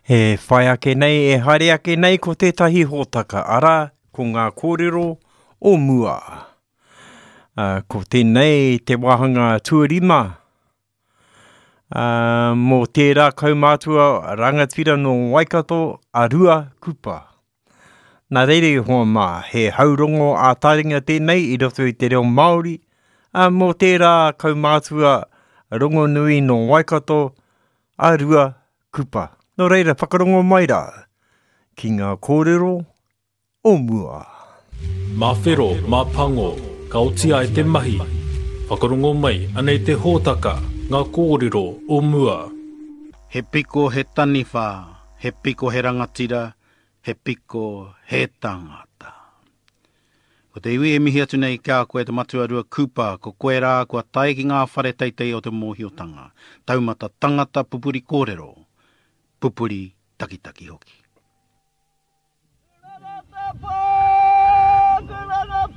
E whai ake nei, e haere ake nei ko tētahi hōtaka, arā, ko ngā kōrero o mua. Uh, ko tēnei te wāhanga tuarima uh, mō tērā kaumātua rangatira nō Waikato a Rua Kupa. Nā reira i hoa mā, he haurongo ā-taringa tēnei i roto i te reo Māori, uh, mō tērā kaumātua rongonui nō Waikato a Rua Kupa. Nō reira, whakarongo mai rā ki ngā kōrero o mua. Mā whero, mā pango, ka oti ai te mahi. Whakarongo mai, anei te hōtaka, ngā kōrero o mua. He piko he taniwha, he piko he rangatira, he piko he tangata. Ko te iwi e mihi atu nei ki a koe te matua Rua Cooper, ko koe rā kua tae ki ngā whare teitei o te mōhiotanga, taumata tangata pupuri kōrero, pupuri takitaki hoki.